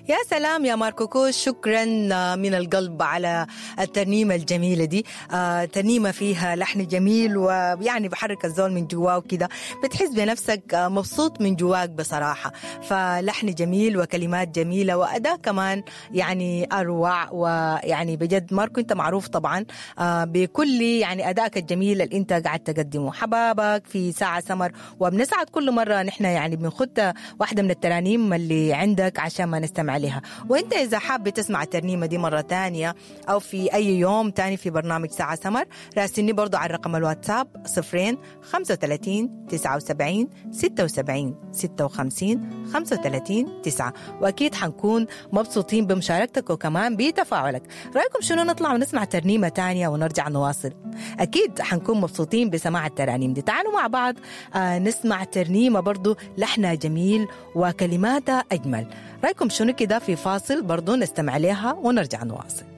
يا سلام يا ماركو كوش، شكرا من القلب على الترنيمة الجميلة دي. ترنيمة فيها لحن جميل ويعني بحرك الزول من جواه وكده، بتحس بنفسك مبسوط من جواك بصراحة. فلحن جميل وكلمات جميلة وأداء كمان يعني أروع. ويعني بجد ماركو أنت معروف طبعا بكل يعني أدائك الجميل اللي أنت قاعد تقدمه. حبابك في ساعة سمر، وبنسعد كل مرة نحن يعني بنخد واحدة من الترانيم اللي عندك عشان ما نستمع لها. وانت إذا حاب تسمع الترنيمة دي مرة تانية أو في أي يوم تاني في برنامج ساعة سمر، راسلني برضو على رقم الواتساب 0 35 79 76 56 35 9، وأكيد حنكون مبسوطين بمشاركتك وكمان بتفاعلك. رأيكم شنو نطلع ونسمع ترنيمة تانية ونرجع نواصل؟ أكيد حنكون مبسوطين بسماع الترانيم دي. تعالوا مع بعض نسمع ترنيمة برضو لحنها جميل وكلماتها أجمل. رأيكم شنو كده في فاصل برضو نستمع لها ونرجع نواصل.